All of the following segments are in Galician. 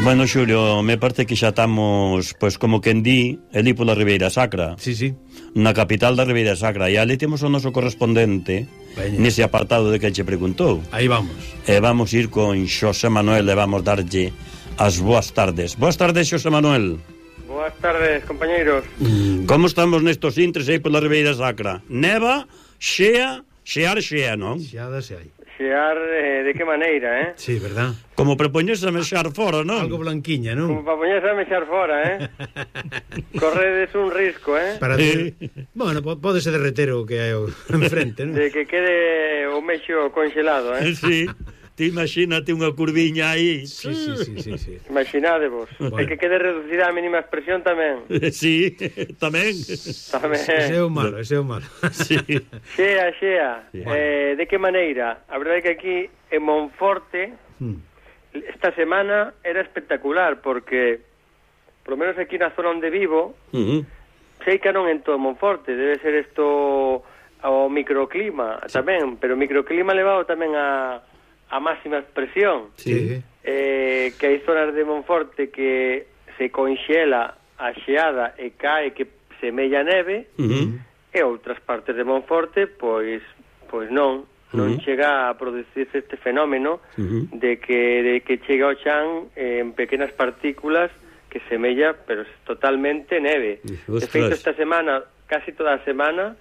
Bueno, Xulio, me parece que xa estamos, pois como quen di, ali pola Ribeira Sacra. Sí, sí. Na capital da Ribeira Sacra. E ali temos o noso correspondente nese apartado de que che preguntou. Aí vamos. E vamos ir con Xosé Manuel e vamos darlle as boas tardes. Boas tardes, Xosé Manuel. Boas tardes, compañeiros. Como estamos nestos intres aí pola Ribeira Sacra? Neva, xea, non? Xeada se hai. Xear, de que maneira, eh? Sí, verdad. Como prepoñes a mexar fora, non? Algo blanquiña, non? Como para poñerse a mexar fora, Corredes un risco, Para bueno, pódese derreter o que hai enfrente, non? De que quede o mexo congelado, Sí. Ti imagínate unha curviña aí. Sí. Imaginadevos. Bueno. E que quede reducida a mínima expresión tamén. Sí, tamén. Ese é o malo. Sí. Xea. Sí. De que maneira? A verdade é que aquí en Monforte esta semana era espectacular porque por lo menos aquí na zona onde vivo sei que non en todo Monforte, debe ser isto o microclima tamén, pero o microclima levado tamén a máxima expresión. Sí. Que hai zonas de Monforte que se conxela a xeada e cae que semella neve, e outras partes de Monforte pois non chega a producirse este fenómeno de que chega ao chan en pequenas partículas que semella, pero totalmente neve. De feito, esta semana, casi toda a semana,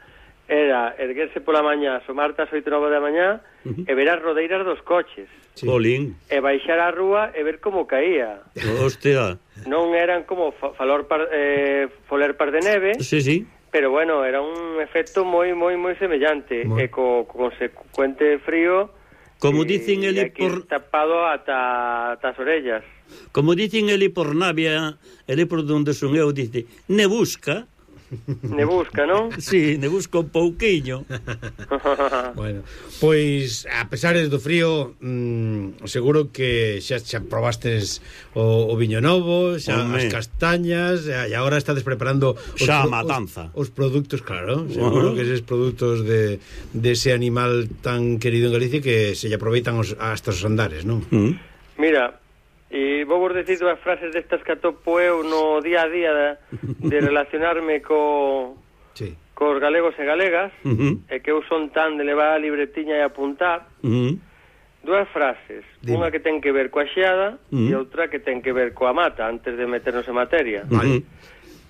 era erguerse pola mañá, asomarte ás 8 9 da mañá e ver as rodeiras dos coches. Sí. Polín. E baixar á rúa e ver como caía. Hostia. Non eran como foler par de neve. Sí. Pero bueno, era un efecto moi semellante e co consecuente frío. Como dicen eli por tapado ata as orellas. Como dicen eli por Navia, eli por donde son eu, dice, nebusca, non? Sí, nebusca un pouquiño. Bueno, pois a pesar do frío, seguro que xa probastes o viño novo, xa as castañas, e agora estades preparando xa a matanza. Os produtos, claro, seguro que eses produtos de ese animal tan querido en Galicia que se lle aproveitan hasta os andares, non? Mira, e vou vos decir dúas frases destas que atopo eu no día a día de relacionarme cos galegos e galegas, e que eu son tan de levar a libretiña e apuntar. Dúas frases, unha que ten que ver coa xeada e outra que ten que ver coa mata, antes de meternos en materia.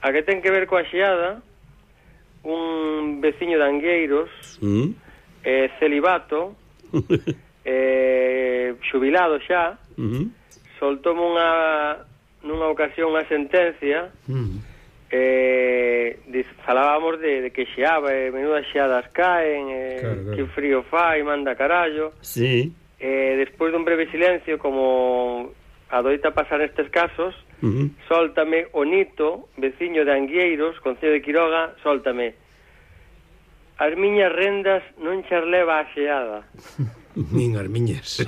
A que ten que ver coa xeada, un veciño de Angueiros, celibato, xubilado xa, soltoume nunha ocasión unha sentencia, falábamos de que xeaba, menudas xeadas caen, que frío fai, manda carallo. Sí. Despois dun breve silencio, como adoita pasar nestes casos, soltame o Nito, veciño de Angueiros, concello de Quiroga, soltame: as miñas rendas non chas leva a xeada. Nin as miñas.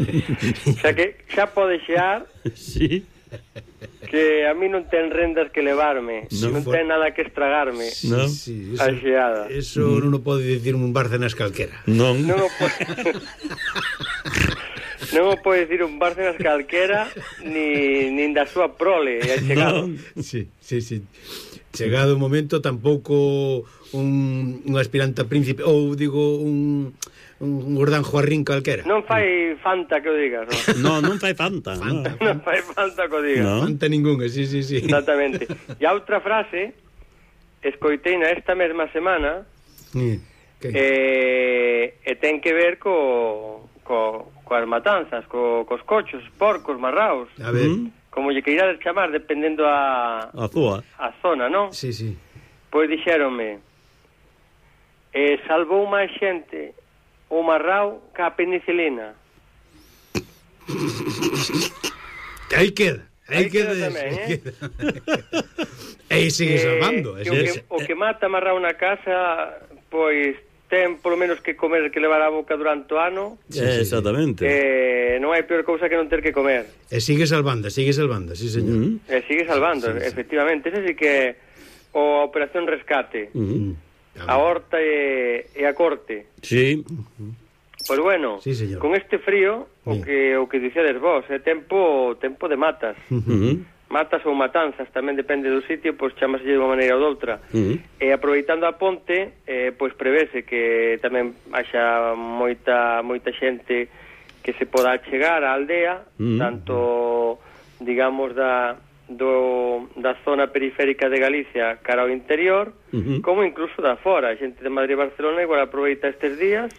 Xa que xa pode xear. Sí. Que a mí non ten rendas que levarme, non ten nada que estragarme. No. Sí, a xeada. Eso non o pode dicir un Bárcenas calquera. Non o pode dicir un Bárcenas calquera nin da súa prole. Sí. Chegado o momento, tampouco un aspirante a príncipe, ou digo un Gordán Juarrín calquera. Non fai falta que o digas, non? Non fai falta. Non fai falta que o digas. No. Falta ningunha, sí. Exactamente. E a outra frase escoiteina esta mesma semana, e ten que ver coas matanzas, cos cochos, porcos, marraos. A ver. Como lle queirades chamar, dependendo a zona, non? Sí. Pois dixéronme, salvou máis xente o marrao ca a penicilina. Aí queda tamén, E sigue salvando. O que mata marrao na casa, pois ten polo menos que comer, que levar a boca durante o ano. Exactamente. Non hai peor cousa que non ter que comer. E sigue salvando, sí, señor. E sigue salvando, efectivamente. Ese sí que a Operación Rescate. A horta e a corte. Sí. Pois bueno, sí, con este frío, o que dixedes vos, é tempo de matas. Matas ou matanzas, tamén depende do sitio, pois chamase de unha maneira ou doutra. E aproveitando a ponte, pois prevese que tamén haxa moita xente que se poda chegar á aldea, tanto, digamos, da zona periférica de Galicia cara ao interior, como incluso da fora. A xente de Madrid e Barcelona igual aproveita estes días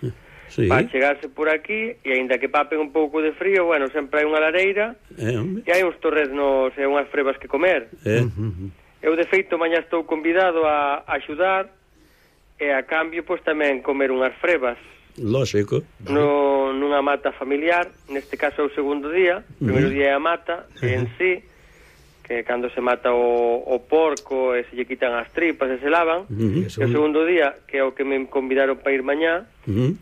para chegarse por aquí, e aínda que papen un pouco de frío, bueno, sempre hai unha lareira e hai uns torreznos e unhas frebas que comer. Eu, de feito, mañá estou convidado a axudar e a cambio, pois, tamén comer unhas frebas. Lógico. Nunha mata familiar, neste caso é o segundo día. O primeiro día é a mata en sí, que cando se mata o porco e se lle quitan as tripas e se lavan. E o segundo día, que é o que me convidaron para ir mañá,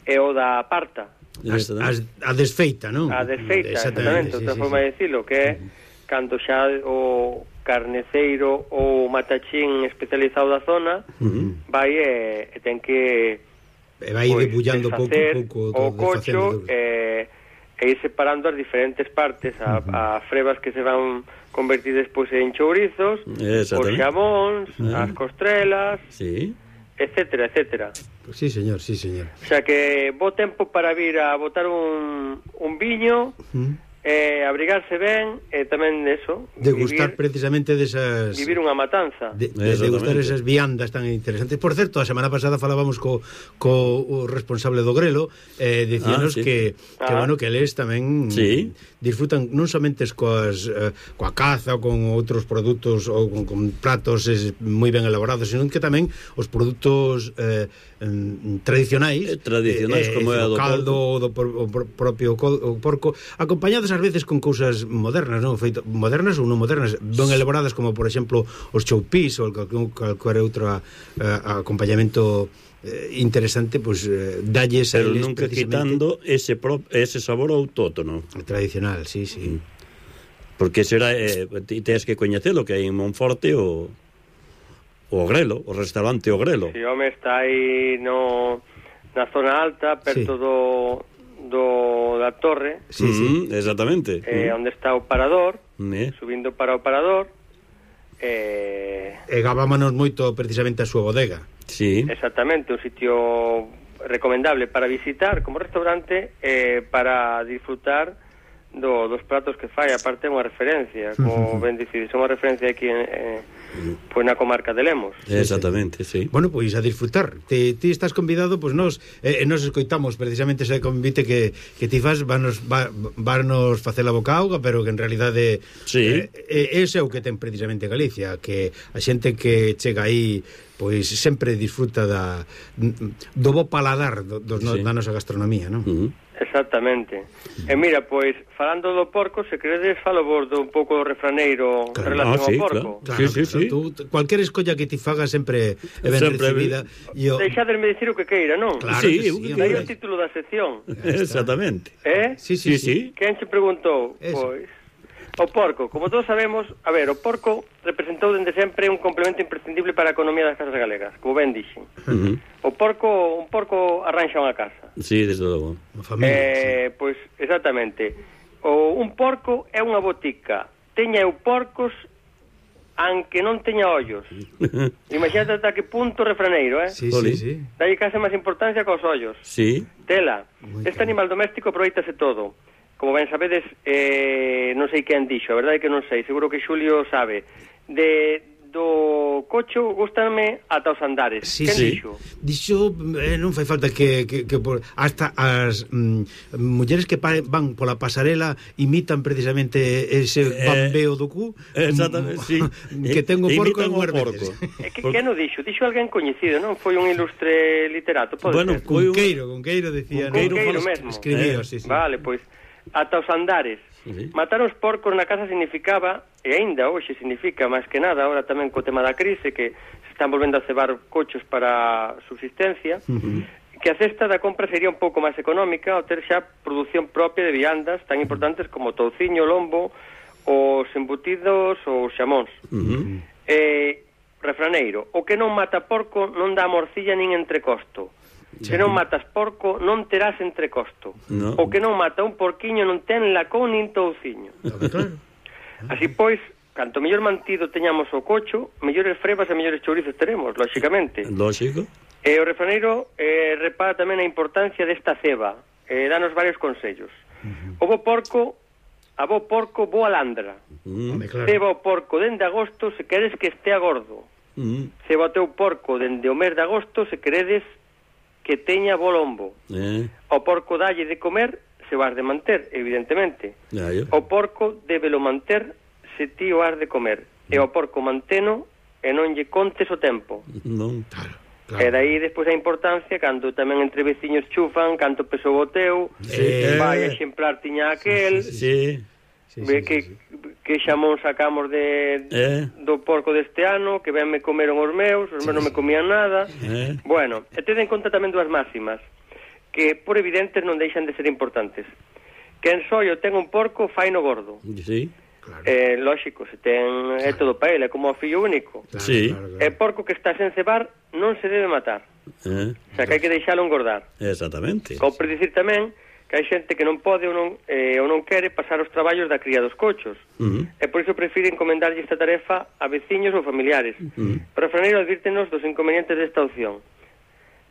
é o da parta. A desfeita, non? A desfeita, exactamente, outra forma de decirlo, que é cando xa o carneceiro ou matachín especializado da zona vai e ten que vai debullando pouco o cocho e ir separando as diferentes partes, a frebas que se van convertir despois en chourizos, os xamóns, as costrelas, etcétera, etcétera. Sí, señor, sí, señor. O sea que bo tempo para vir a botar un viño, abrigarse ben, e tamén eso, degustar precisamente desas... Vivir unha matanza. Degustar esas viandas tan interesantes. Por certo, a semana pasada falábamos co responsable do Grelo, dicíanos que bueno, que eles tamén disfrutan non somente coa caza ou con outros produtos ou con platos moi ben elaborados, senón que tamén os produtos tradicionais como é o caldo, do propio porco, acompañados ás veces con cousas modernas, non? Modernas ou non modernas, ben elaboradas, como por exemplo os choupís ou calquer outro acompañamento interesante, pois dalles a eles, pero nunca quitando ese sabor autóctono tradicional, sí. Porque será tens que coñecelo, que hai en Monforte o Grelo, o restaurante O Grelo. Si, home, está aí na zona alta, perto da torre. Sí. Exactamente. Onde está o parador, subindo para o parador. E gavámonos moito precisamente a súa bodega. Sí. Exactamente, un sitio recomendable para visitar como restaurante, para disfrutar dos pratos que fai. Aparte é unha referencia, como ben dicides, é unha referencia aquí pois na comarca de Lemos. Exactamente, sí. Bueno, pois a disfrutar. Ti estás convidado, pois nos escoitamos precisamente ese convite que ti fas, vanos facer a boca auga, pero que en realidade ese é o que ten precisamente Galicia, que a xente que chega aí pois sempre disfruta do bo paladar da nosa gastronomía, non? Exactamente. E mira, pois, falando do porco, se queredes falo vos un pouco do refraneiro en relación ao porco. Claro. Tú, cualquier escolla que ti faga sempre é ben recibida. Deixadesme dicir o que queira, non? Claro que sí. Daí o título da sección. Exactamente. Sí. Quen se preguntou? Pois, o porco, como todos sabemos, o porco representou dende sempre un complemento imprescindible para a economía das casas galegas, como ben dixen. Un porco arranxa unha casa. Sí, desde logo. Pois, exactamente. Un porco é unha botica. Teña eu porcos aunque non teña ollos. Imagínate ata que punto refraneiro, Sí. Dalle case máis importancia cos ollos. Sí. Tela. Este animal doméstico aproveitase todo. Como ben sabedes, non sei quen dixo, a verdade é que non sei, seguro que Xulio sabe. Do cocho gústame ata os andares. Quen dixo? Dixo, non fai falta que hasta as mulleres que van pola pasarela imitan precisamente ese bambeo do cu. Exactamente, sí. Que ten o porco en porco. Que non dixo? Dixo alguén coñecido, non? Foi un ilustre literato, pode ser? Cunqueiro decía. Cunqueiro mesmo. Escribió, sí. Vale, pois ata os andares. Matar os porcos na casa significaba, e aínda hoxe significa máis que nada, ahora tamén co tema da crise, que se están volvendo a cebar cochos para subsistencia, que a cesta da compra sería un pouco máis económica ao ter xa produción propia de viandas tan importantes como o touciño, o lombo, os embutidos ou os xamóns. Refraneiro, o que non mata porco non dá morcilla nin entrecosto. Se non matas porco, non terás entrecosto. O que non mata un porquiño non ten lacón nin touciño. Claro. Así pois, canto mellor mantido teñamos o cocho, mellores frebas e mellores chourizos teremos, lóxicamente. Lógico. E o refraneiro repara tamén a importancia desta ceba, danos varios consellos. O bo porco, a bo porco, boa landra. Ceba o porco dende agosto se queres que estea gordo. Ceba o teu porco dende o mes de agosto se queredes que teña bo lombo. O porco dalle de comer se o has de manter, evidentemente. O porco débelo manter se ti o has de comer. E o porco manteno e non lle contes o tempo. Non. Claro. E daí despois a importancia cando tamén entre veciños chufan canto pesou o teu, vai exemplar tiña aquel. Que xamón sacamos do porco deste ano, que ben me comeron os meus non me comían nada. Bueno, e ten en conta tamén dúas máximas que por evidentes non deixan de ser importantes. Quen soio ten un porco faino gordo. Sí. Claro. Lógico, se ten é todo para ele, é como o fillo único. Sí. É porco que está sen cebar non se debe matar. O sea, que hai que deixalo engordar. Exactamente. Como por dicir tamén que hai xente que non pode ou non quere pasar os traballos da cría dos cochos. E por iso prefire encomendarlle esta tarefa a veciños ou familiares. Pero o refraneiro advírtenos dos inconvenientes desta opción.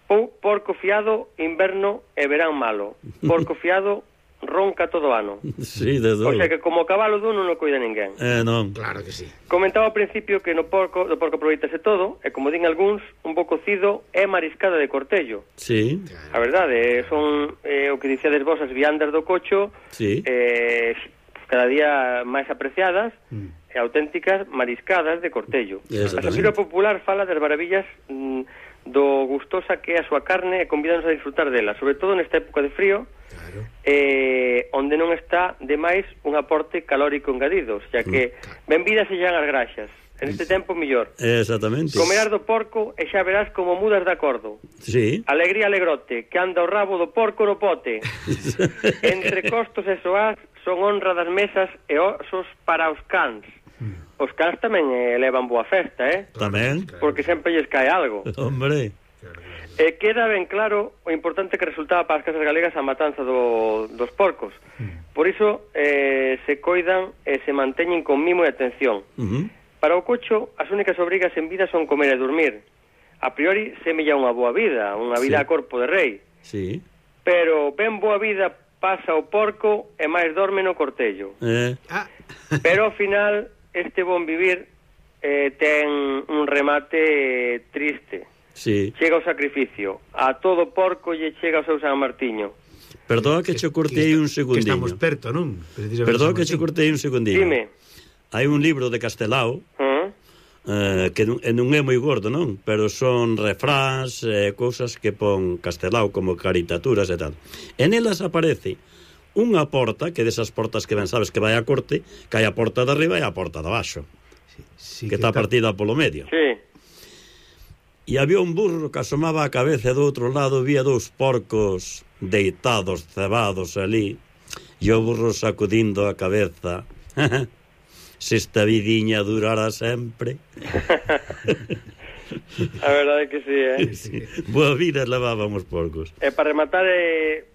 Porco fiado, inverno e verán malo. Porco fiado, ronca todo ano. Sí, de dolo. O sea que como o cabalo dun non o cuida ninguén. Non. Claro que sí. Comentaba ao principio que do porco aproveitase todo, e como din algúns, un bo cocido é mariscada de cortello. Sí. A verdade, son o que dicíades vos, as viandas do cocho, sí. Cada día máis apreciadas e auténticas mariscadas de cortello. A satíra popular fala das maravillas do gustosa que é a súa carne e convídanos a disfrutar dela, sobre todo nesta época de frío, onde non está demais un aporte calórico engadido, xa que benvidas se as graxas. En este tempo mellor. Exactamente. Comerás do porco e xa verás como mudas de acordo. Sí. Alegría alegrote, que anda o rabo do porco no pote. Entre costos e soás son honra das mesas e osos para os cans. Os cans tamén levan boa festa, Tamén. Porque sempre lles cae algo. Hombre. Queda ben claro o importante que resultaba para as casas galegas a matanza dos porcos. Por iso se coidan e se manteñen con mimo e atención. Para o cocho, as únicas obrigas en vida son comer e dormir. A priori, semella unha boa vida, unha vida a corpo de rei. Sí. Pero ben boa vida pasa o porco e máis dorme no cortello. Pero ao final, este bon vivir ten un remate triste. Sí. Chega o sacrificio. A todo porco lle chega o seu San Martiño. Perdón que che cortei un segundinho. Que estamos perto, non? Perdón que che cortei un segundinho. Dime. Hai un libro de Castelao que non é moi gordo, non? Pero son refráns, cousas que pon Castelao como caritaturas e tal. En elas aparece unha porta, que desas portas que ben sabes que vai a corte, que hai a porta de arriba e a porta de abaixo, que está partida polo medio. Sí. E había un burro que asomaba a cabeza e do outro lado vía dous porcos deitados, cebados ali, e o burro sacudindo a cabeza. Se esta vidiña durara sempre. A verdade é que sí, Sí. Boa vida levábamos porcos. E para rematar,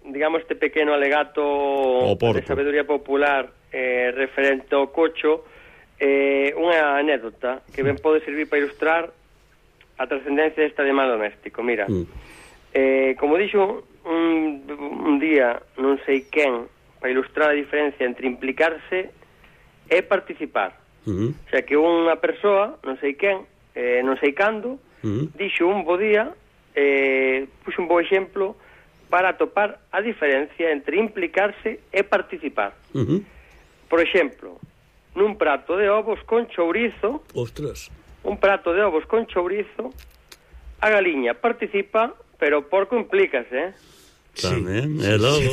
digamos, este pequeno alegato de sabedoría popular referente ao cocho, unha anécdota que ben pode servir para ilustrar a trascendencia deste animal doméstico. Mira, como dixo un día non sei quen, para ilustrar a diferencia entre implicarse e participar. O sea, que unha persoa, non sei quen, non sei cando, dixo un bo día, puxo un bo exemplo para atopar a diferencia entre implicarse e participar. Por exemplo, nun prato de ovos con chourizo, un prato de ovos con chourizo, a galiña participa, pero o porco implícase, Tamén, é logo.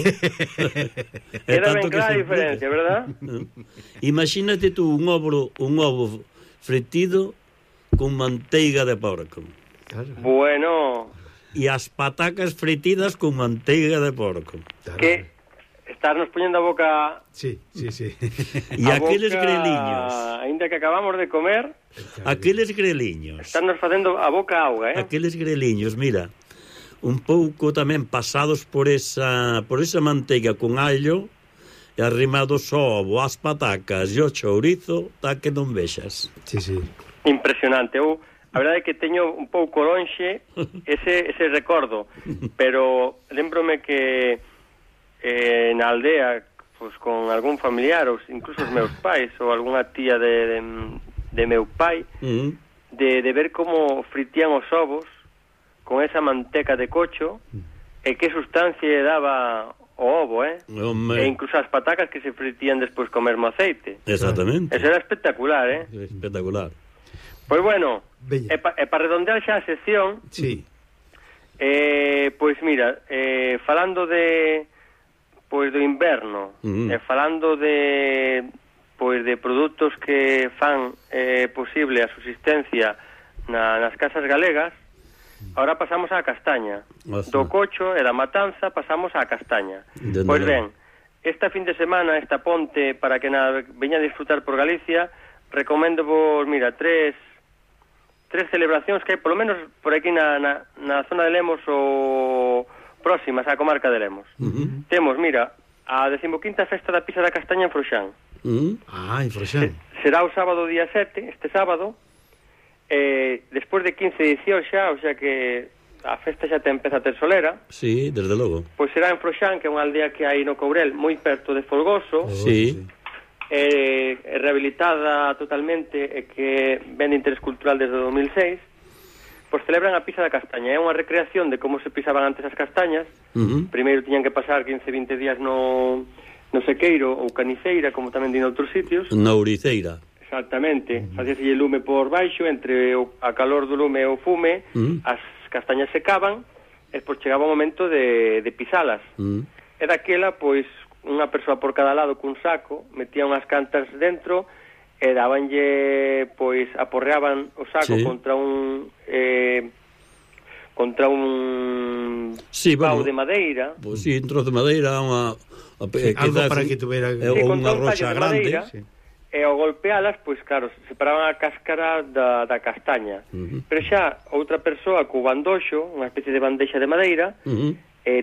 Queda ben clara a diferencia, verdad? Imagínate tú un ovo fritido con manteiga de porco. Bueno. E as patacas fritidas con manteiga de porco. Que estarnos poñendo a boca... Sí. E aqueles greliños. Ainda que acabamos de comer... Aqueles greliños. Estarnos facendo a boca auga, Aqueles greliños, mira... un pouco tamén pasados por esa manteiga con allo e arrimados ao ovo, as patacas e o chourizo, tá que non vexas. Sí. Impresionante. A verdade é que teño un pouco lonxe ese recordo, pero lembrome que na aldea, pues, con algún familiar, ou incluso os meus pais, ou algunha tía de meu pai, de ver como fritían os ovos con esa manteca de cocho, e que sustancia daba o ovo, e incluso as patacas que se fritían despois co mesmo aceite. Exactamente. Eso era espectacular, Espectacular. Pois bueno, e para redondear xa a sección, sí. Pois mira, falando do inverno, falando de produtos que fan posible a subsistencia nas casas galegas, ahora pasamos á castaña. Do cocho e da matanza pasamos á castaña. Pois ben, esta fin de semana, esta ponte, para que veña a disfrutar por Galicia, recomendo vos, mira, tres celebracións que hai, polo menos por aquí na zona de Lemos ou próximas á comarca de Lemos. Temos, mira, a 15ª Festa da Pisa da Castaña en Froxán. En Froxán. Será o sábado día 7, este sábado, despois de 15 edicións xa, o sea que a festa xa te empeza a ter solera. Sí, desde logo. Pois será en Froxán, que é unha aldea que hai no Courel, moi perto de Folgoso. Sí. Rehabilitada totalmente, e que ven de interés cultural desde 2006. Pois celebran a pisa da castaña. É unha recreación de como se pisaban antes as castañas. Primeiro tiñan que pasar 15-20 días no sequeiro ou caniceira, como tamén din outros sitios. Na ouriceira. Exactamente. Facíaselle lume por baixo, entre a calor do lume e o fume, as castañas secaban, e pois chegaba o momento de pisalas. E daquela, pois, unha persoa por cada lado cun saco, metía unhas cantas dentro, e dabanlle, pois, aporreaban o saco contra un pau de madeira. Pois sí, un trozo de madeira, algo para que tuvera unha roxa grande. E ao golpealas, pois claro, separaban a cáscara da castaña. Pero xa outra persoa co bandoxo, unha especie de bandexa de madeira,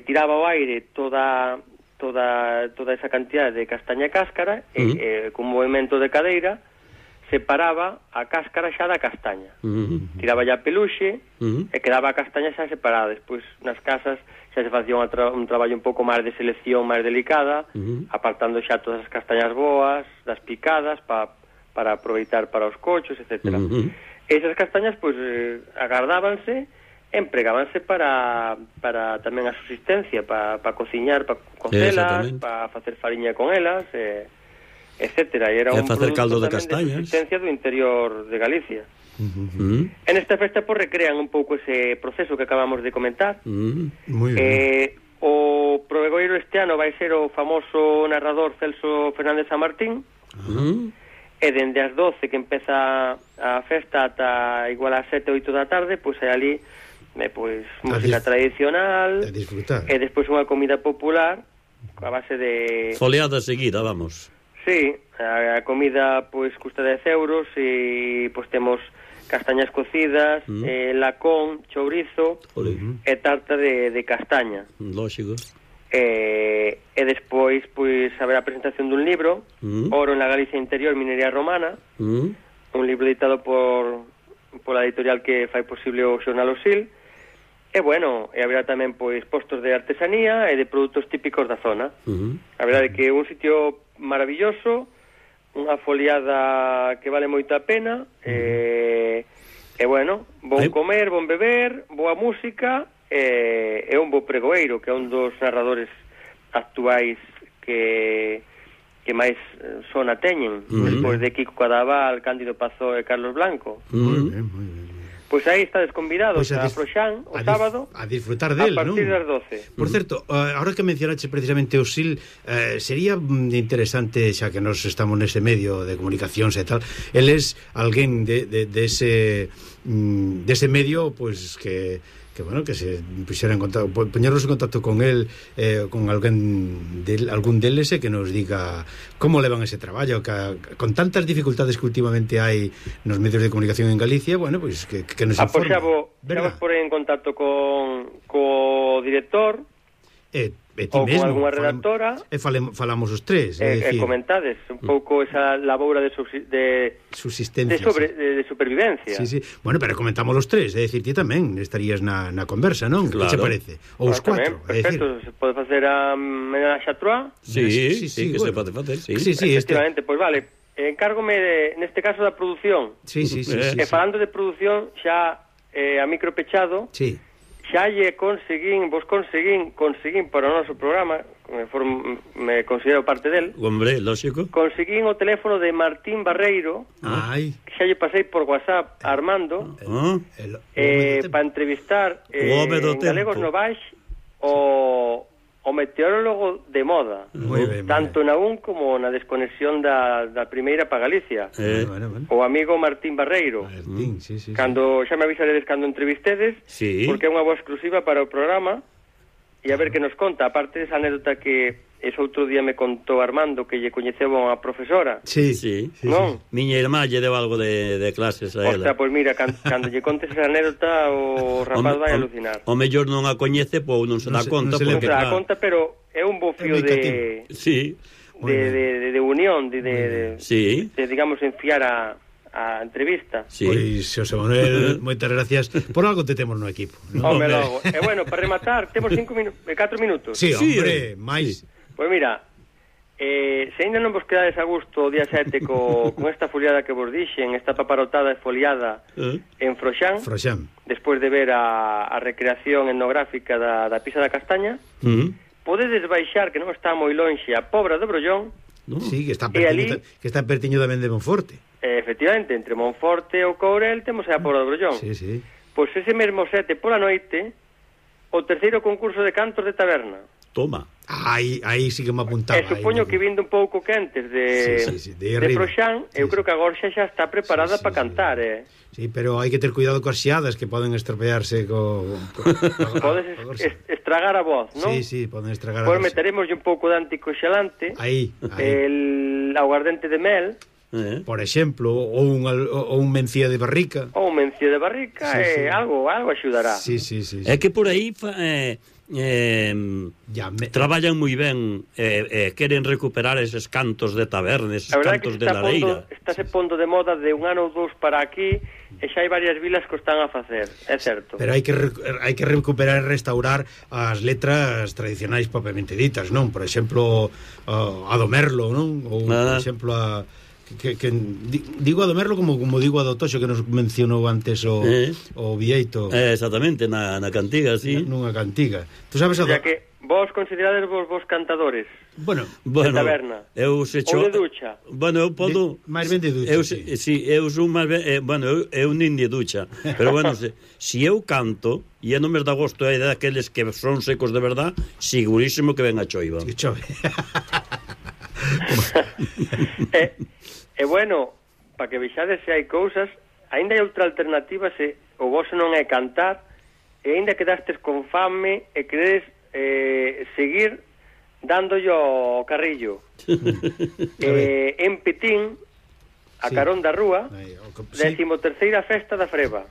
tiraba ao aire toda esa cantidad de castaña e cáscara, e con movimento de cadeira separaba a cáscara xa da castaña. Tiraba ya a peluxe e quedaba a castaña xa separada. Despois nas casas xa se facía un traballo un pouco máis de selección, máis delicada, apartando xa todas as castañas boas das picadas para aproveitar para os cochos, etc. Esas castañas pois agardábanse, empregábanse para tamén a subsistencia, para cociñar, para cocelas, para facer fariña con elas, etcétera. E era un facer caldo de castañas de subsistencia do interior de Galicia. En esta festa pues recrean un pouco ese proceso que acabamos de comentar. Muy bien. O provegoiro este ano vai ser o famoso narrador Celso Fernández San Martín. E dende as 12 que empeza a festa ata igual as 7 ou 8 da tarde, pois hai ali música tradicional, e despois unha comida popular a base de foleada seguida, vamos. Sí, a comida pois custa 10 euros, e pois temos castañas cocidas, lacón, chourizo e tarta de castaña. Lógico. E despois pois haberá a presentación dun libro, Oro en la Galicia Interior, Minería Romana, un libro editado pola editorial que fai posible o xornal Osil. E bueno, e haberá tamén pois postos de artesanía e de produtos típicos da zona. A verdade é que é un sitio maravilloso, unha foliada que vale moito a pena, e bueno, bon comer, bon beber, boa música, e un bo pregoeiro, que é un dos narradores actuais que máis sona teñen, despois de Kiko Cadaval, Cándido Pazó e Carlos Blanco. Moi ben, moi ben. Pois aí estades convidados a Froxán o sábado a disfrutar del, a partir das 12. Por certo, ahora que mencionaste precisamente o SIL, sería interesante, xa que nos estamos nese medio de comunicacións e tal, el es alguén de ese dese medio, pois que bueno, que se puxera en contacto, poñernos en contacto con él, con algún deles, e que nos diga como levan ese traballo, que con tantas dificultades que últimamente hai nos medios de comunicación en Galicia, bueno, pois que nos informe. Xa vos por en contacto co director, ou con alguna redactora, e falamos os tres, e comentades un pouco esa laboura de subsistencia, de supervivencia. Sí. Bueno, pero comentamos os tres, é dicir, ti tamén estarías na conversa, non? Claro. Que che parece? Ou os cuatro, perfecto, se pode facer a menage à trois. Sí, que se pode facer, sí. Efectivamente, pois vale, encárgome neste caso da produción. Sí. Falando de produción, xa a micro pechado, sí. Xa conseguín para o noso programa, me considero parte del. Hombre, lógico. Conseguín o teléfono de Martín Barreiro, que xa lle pasei por WhatsApp a Armando, para entrevistar en Galegos Novais o meteorólogo de moda, tanto na UN como na desconexión da primeira para Galicia, o amigo Martín Barreiro. Sí. Cando xa me avisaredes cando entrevistedes, porque é unha boa exclusiva para o programa, e a ver que nos conta, aparte desa anécdota que ese outro día me contou Armando, que lle coñeceba a profesora. Sí. Non? Miña irmá lle deu algo de clases a ela. Ostras, pois mira, cando lle contes esa anécdota, o rapaz vai alucinar. O mellor non a coñece, pois non se dá conta. Non se dá conta, pero é un bo fío de unión, de digamos, enfiar a entrevista. Pois, Xosé Manuel, moitas gracias. Por algo te temos no equipo, ¿no? Home, logo. E bueno, para rematar, temos 4 minutos. Sí, hombre, máis. Pois mira, se ainda non vos quedades a gusto o día 7 con esta foliada que vos dixen, esta paparotada e foliada en Froxán, despois de ver a recreación etnográfica da Pisa da Castaña, podedes baixar, que non está moi lonxe, a Pobra do Brollón. Sí, que está pertiño tamén de Monforte. Efectivamente, entre Monforte e o Courel temos a Pobra do Brollón. Sí. Pois ese mesmo 7 pola noite, o terceiro concurso de cantos de taberna. Toma. Aí sí que me apuntaba. E supoño que vindo un pouco quentes de Froxán, eu creo que agora xa está preparada para cantar, Sí, pero hai que ter cuidado coas xiadas que poden estropearse podes estragar a voz, non? Sí, poden estragar a voz. Pois meteremos un pouco de anticoxelante, aí. El aguardente de mel, por exemplo, ou un mencía de barrica. Ou un mencía de barrica, algo axudará. Sí. É que por aí traballan moi ben, queren recuperar eses cantos de taberna, eses cantos de lareira. Estáse pondo de moda de un ano ou dous para aquí, e xa hai varias vilas que o están a facer, é certo. Pero hai que recuperar e restaurar as letras tradicionais propiamente ditas, non? Por exemplo, a do Merlo, non? Ou, por exemplo, digo a do Merlo como digo a do Toxo, que nos mencionou antes o Vieito. Exactamente, na cantiga, sí. Nunha cantiga. Tú sabes a que vos considerades vos cantadores. Bueno, de taberna. Eu se cho... Ou de ducha. Bueno, eu podo... máis ben de ducha. Eu son máis ben... eu nin de ducha. Pero bueno, se eu canto, e non me dá gosto a idea daqueles que son secos de verdad, segurísimo que ven a choiva. Que chove. E bueno, para que vexades se hai cousas, aínda hai outra alternativa se o voso non é cantar, e aínda quedastes con fame e queredes seguir dándolle o carrillo. En Petín, a carón da rúa, 13ª festa da Freba.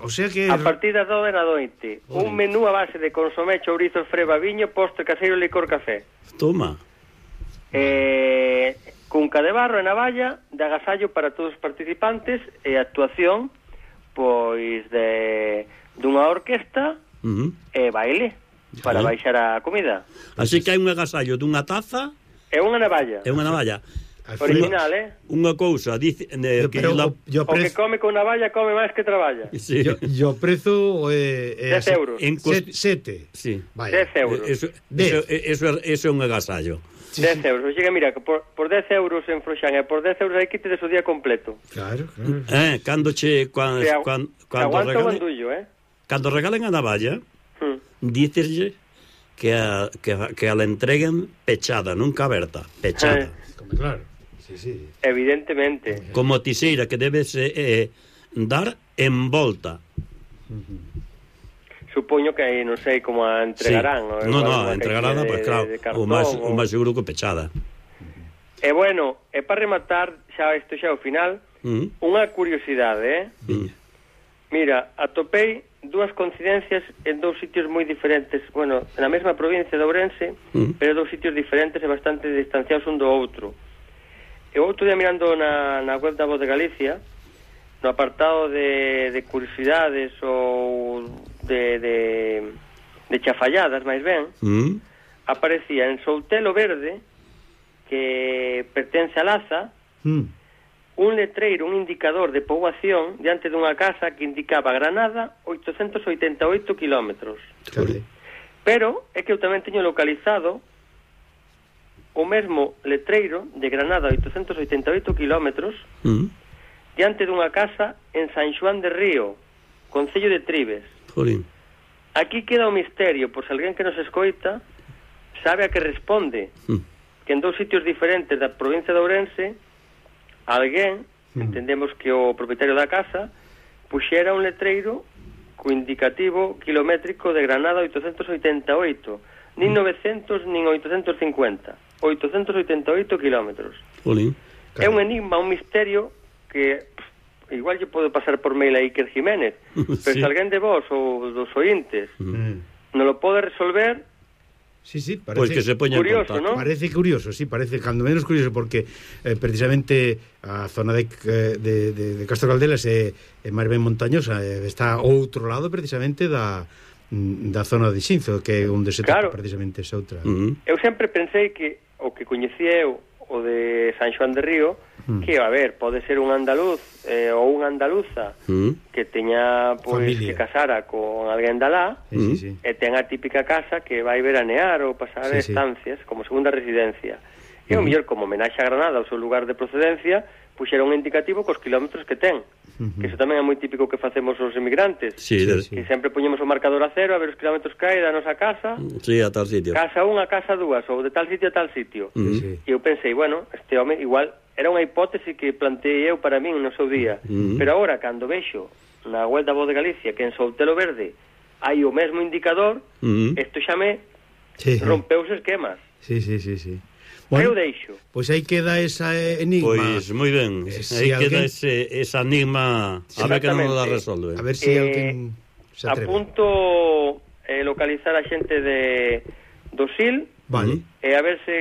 O sea que... A partir das 9 da noite, un menú a base de consomé, chourizos, freba, viño, postre caseiro, licor, café. Toma. Cunca de barro e navalla de agasallo para todos os participantes, e actuación pois dunha orquesta e baile para baixar a comida. Así que hai un agasallo dunha taza e unha navalla. Original, Unha cousa, dice o que come con navalla come máis que traballa. Sí. Yo prezo 10 euros. 7. Sí. 10 euros. Eso é un agasallo. 10 euros. O sea, mira, que por 10 euros en Froxán e por 10 euros aí quites o día completo. Claro. Cando aguanta o bandullo, Cando regalen a navalla, díceslle que a la entreguen pechada, nunca aberta, pechada. Claro. Sí. Evidentemente. Como tiseira, que debe ser dar en volta. Supoño que aí non sei como a entregarán. Sí. No, entregarán, pois claro, o máis seguro que pechada. E bueno, e para rematar, isto xa é o final, unha curiosidade, Mira, atopei dúas coincidencias en dous sitios moi diferentes, bueno, na mesma provincia de Ourense, pero dous sitios diferentes e bastante distanciados un do outro. E outro día mirando na web da Voz de Galicia, no apartado de curiosidades ou de chafalladas, máis ben, aparecía en Soutelo Verde, que pertence a Laza, un letreiro, un indicador de poboación diante dunha casa que indicaba Granada 888 kilómetros. Pero é que eu tamén teño localizado o mesmo letreiro de Granada 888 kilómetros diante dunha casa en San Xoán de Río, concello de Tribes. Jolín. Aquí queda o misterio, por se alguén que nos escoita sabe a que responde, que en dous sitios diferentes da provincia de Ourense alguén, entendemos que o propietario da casa, puxera un letreiro co indicativo kilométrico de Granada 888, nin 900 nin 850, 888 kilómetros. É un enigma, un misterio que igual lle pode pasar por mail a Iker Jiménez, pero se alguén de vos ou dos ointes non lo pode resolver. Sí, parece pues que se curioso, ¿no? Parece curioso, sí, parece cando menos curioso porque precisamente a zona de Castro Caldelas é máis ben montañosa, está ao outro lado precisamente da zona de Xinzo, que é onde se toca precisamente esa outra. Eu sempre pensei que o que coñecía eu, o de San Xoán de Río, que, a ver, pode ser un andaluz ou unha andaluza que teña, pois, que casara con alguén de alá e ten a típica casa que vai veranear ou pasar estancias como segunda residencia. E o mellor, como homenaxe a Granada ao seu lugar de procedencia, puxera un indicativo cos kilómetros que ten. Que iso tamén é moi típico que facemos os emigrantes, que sempre poñemos o marcador a cero a ver os kilómetros que hai da nosa casa, a tal sitio, casa 1 a casa 2 ou de tal sitio a tal sitio. E eu pensei, bueno, este home igual era unha hipótese que planteei eu para min no seu día, pero agora cando vexo na web da Voz de Galicia que en Soutelo Verde hai o mesmo indicador, isto xa me rompeu os esquemas. Sí. Bueno, eu deixo. Pois aí queda esa enigma. Pois moi ben, aí queda esa enigma, a ver que non nos la resolve. A ver se alguén se atreve. Apunto localizar a xente do SIL, vale. E a ver se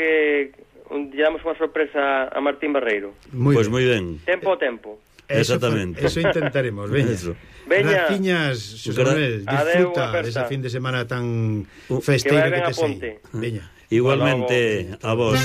lle damos unha sorpresa a Martín Barreiro. Pois moi ben. Tempo ao tempo. Exactamente. Eso intentaremos, veña. Veña. Graciñas, Xosé Manuel, disfruta desa fin de semana tan festeiro que te sei. Veña. Igualmente a vos.